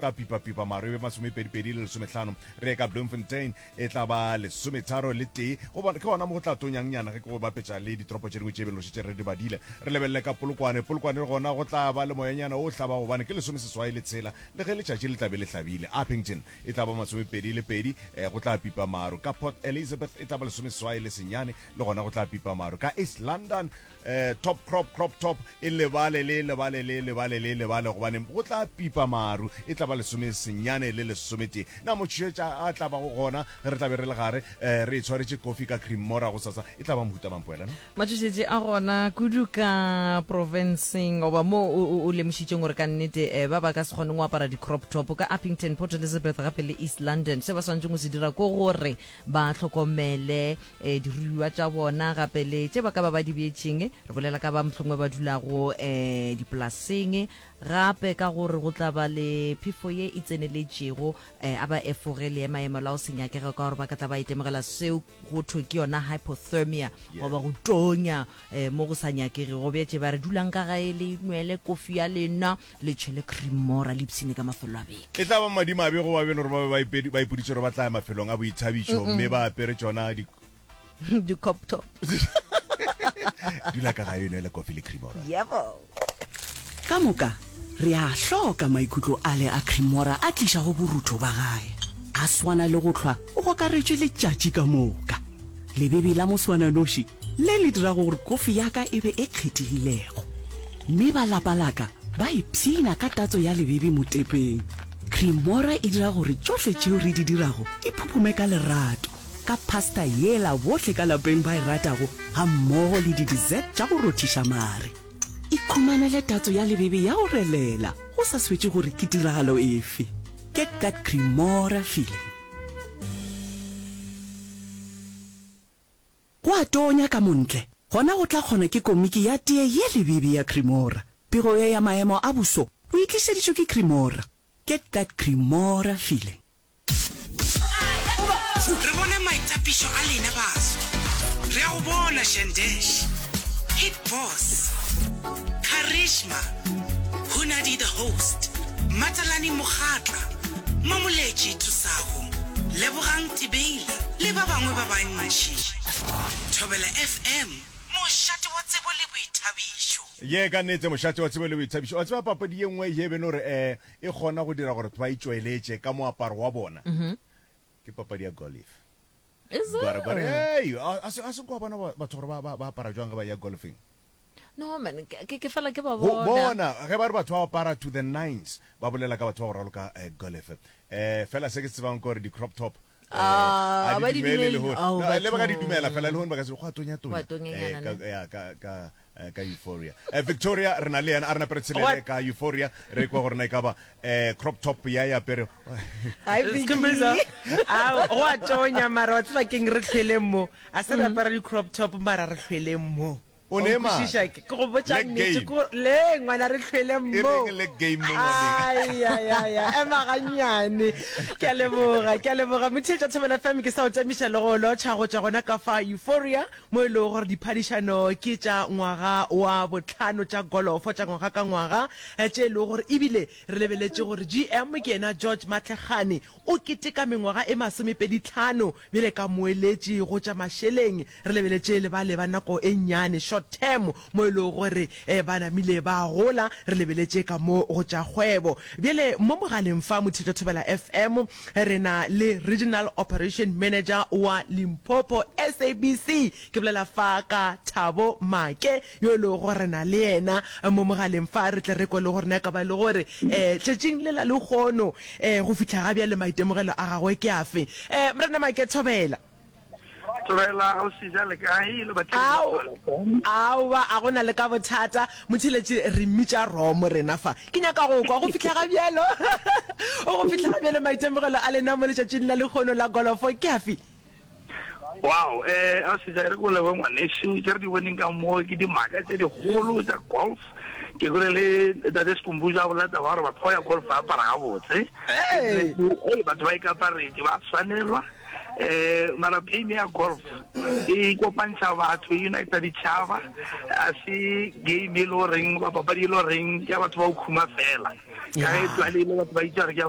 Ka pipa-pipa maru e be masomepedipedi le lesomehlano, re ye ka Bloemfontein e tla ba lesometharo le tee. Go bona, ke gona mo go tla tonyangnyana ge ke go bapetša le ditoropo tše dingwe tše belo šetše re di badile. Re lebelele ka Polokwane. Polokwane le gona go tla ba le moyanyana wo o hlabago gobane ke lesomeseswai le tshela le ge letšatši le tla be le hlabile. Upington e tla ba masomepedi le pedi, go tla pipa maru. Ka Port Elizabeth e tla ba lesomeseswai le senyane, le gona go tla pipa maru. Ka East London Eh, top crop, crop top, e lebale le, lebale le, lebale le, lebale, gobane go tla pipa maru, e tla ba lesomesenyane le lesometee. Na motšhetša a tla bago gona ge re tla be re le gare, eh, re itshwaretše kofi ka cream-mora gosasa, e tla ba mohuta mang, Poelano? Matšhošetši a gona kudu ka profenseng goba mo o, o, o lemošitšeng gore ka nnete eh, ba ba ka se kgoneng go apara di-crop top ka Upington, Port Elizabeth gape le East London. Se ba swanetšeng go se dira ko gore ba hlokomele eh, diruiwa tša bona gape le tše ba ka ba ba di bjetšeng. Re bolela ka ba mohlomongwe ba dulago eh, dipolaseng, gape ka gore go tla ba le phefo ye e tseneletšego, eh, a ba efoge leemaema la go se nyakege ka gore ba ka tla ba itemogela seo go thwe ke yona hypothermia goba go tonya eh, mo go sa nyakegego. Bjetše ba re dulang ka gae le nwele kofi ya lena le tšhele cream-mora le ipshine ka mafelo a beke. E tla ba madimabe go ba beno gore ba be ba ipoditše gore ba tla ya mafelong a boithabišo mme ba apere tšona di Di-cop top. Dula ka gae o nwele kofi le cream-mora. Yebo. Ka moka re a hloka maikutlo ale a Cremora a tlišago borutho ba gae. A swana le go hlwa o gokaretšwe letšatši ka moka. Lebebe la moswananoši le le dirago gore kofi ya ka e be e kgethegilego. Mme ba lapa la ka ba ipshina ka tatso ya lebebe motepeng. Cremora e dira gore tšohle tšeo re di dirago di phuphume ka lerato, ka pasta yela bohle ka lapeng ba e ratago gammogo le di-dessert tša go rothiša mare. Ikhumanele tatso ya lebebe ya go relela go sa swetše gore ke tiragalo efe. Get that Cremora feeling. Go a tonya ka montle, gona go tla kgona ke komiki ya tee ye lebebe ya Cremora. Pego ye ya maemo a boso o e tlišeditšwe ke Cremora. Get that Cremora feeling. Re bona maitapišo a lena baswa. Re a go bona Shandesh, Hit Boss, Karishma, Hunadi the Host, Matalani Mokgatla, Mamoletši Thusago, Lebogang Tibeila le ba bangwe ba bantši. Thobela FM, mošate wa tsebo le boithabišo. Ye ka nnete mošate wa tsebo le boithabišo. Wa tseba papadi ye nngwe ye beno gore um e kgona go dira gore batho ba itšweletše ka moaparo wa bona ke papadi ya golf. Is it? Gore gore hey, a a se a se kwa bona batho gore ba ba ba apara jwang ge ba ya golfing. No man, ke ke fela ke ba Go bona. bona ge ba re batho ba apara to the nines ba bolela ka batho ba go raloka eh, golf. Eh fela se ke se tsebang ke gore di crop top eh, Ah, a ba di di dumele dumele. lehono. Ao, No, le ba ka di bathong. dumela fela lehono ba ka se go a tonya Go a tonya. tonyanyana, Eh, ka, ne? ya, ka, ka, eh, ka euphoria. Eh, Victoria re na le yena a re nape re tshelele What? ka euphoria re kwa gore na e ka ba eh, crop top ya ya apere Hi, Vicky. Skhumbuzo, a go a tonya mara wa tseba keng re hlweleng mo a se re apara di-crop top mara re hlweleng mo O ne maatla. Ke go botša Leg nnete game. ko le ngwana re hlwele E mo. reng leg game mo ngwaneng? Ai ai ai ai, ema gannyane. Ke a leboga, ke a leboga. Motheetša Thobela FM ke sa o tamiša le go lotšha go tšwa gona ka fa Euphoria mo e lego gore diphadišano ke tša ngwaga wa bohlano tša golofo tša ngwaga ka ngwaga eh, tše e lego gore ebile re lebeletše gore GM ke yena George Matlhekgane o keteka mengwaga e masomepeditlhano bjale ka moeletši go tša mašeleng. Re lebeletše le bale ba nako e nnyane, short term, mo e lego gore ba namile ba gola. Re lebeletše ka mo go tša kgwebo. Bjale mo mogaleng fa Mothito Thobela FM re na le Regional Operation Manager wa Limpopo SABC. Ke bolela fa ka Thabo Make yo e lego gore re na le yena mo mogaleng fa re tle re kwe le gore na e ka ba e le gore um tšatšing le la lehono um go fihla ga bjale maitemogelo a gagwe ke afe. Um Morena Make, thobela. Thobela, ga o seja le kae le batheeletši ba Ao, Thobela FM? aowa, a go na le ka bothata. Motheeletši, re mmitša Romo rena fa. Ke nyaka go kwa go fihla ga bjalo, go fihla ga bjalo maitemogelo a lena mo letšatšing la lehono la golofo ke afe? Wow, eh, a seja e re ko leboge ngwanešu, tše re di boneng ka mo ke dimaka tše dikgolo tša golf. Ke kwele le Tate Skhumbuzo a bolela taba ya gore batho ba ya golf ba apara gabotse. Hey! Hey, batho ba ikaparetše, ba swanelwa. Um mara game ya golf e kopantšha batho, e unita ditšhaba. A se game e le goreng goba papadi e le goreng ke ya batho ba go khuma fela. Ka ge tlwaele e le batho ba itse gore ke ya.